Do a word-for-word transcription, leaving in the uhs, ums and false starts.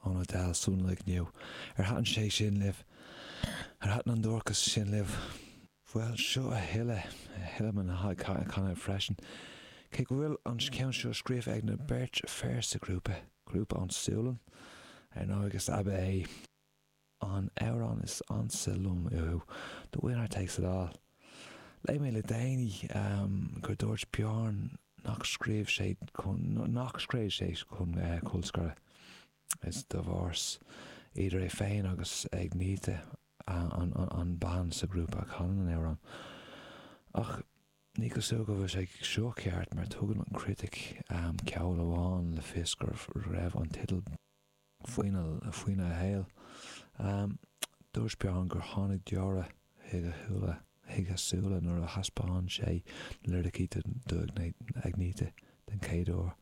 Ón Adele, Someone Like You. Ar thaitin sé sin libh? Ar thaitin an duairceas sin libh? Bhuel, seo a thuilleadh, a thuilleadh mná ag canadh freisin. Cé go bhfuil an ceann seo scríofa ag na beirt fear sa ghrúpa, grúpa ón Sualainn, ar ndóigh is ab é an amhrán is ansa liom uathu, The Winner Takes It All. Léigh mé le déanaí gur dúirt Bjorn nach scríobh sé chun nach scríobh sé chun colscaradh. Is divorce idir é féin agus Agnetha an, an, an bean sa ghrúpa a chanann an amhrán. Ach ní cosúil go bhfuil sé seo ceart mar tugann an critic um, ceoil amháin le fios gur raibh an teideal faoina faoina shaol. Um, dúirt Bjorn gur tháinig deora chuig a shúile chuig a súile nuair a thaispeáin sé na liricí do Agnetha den chéad uair.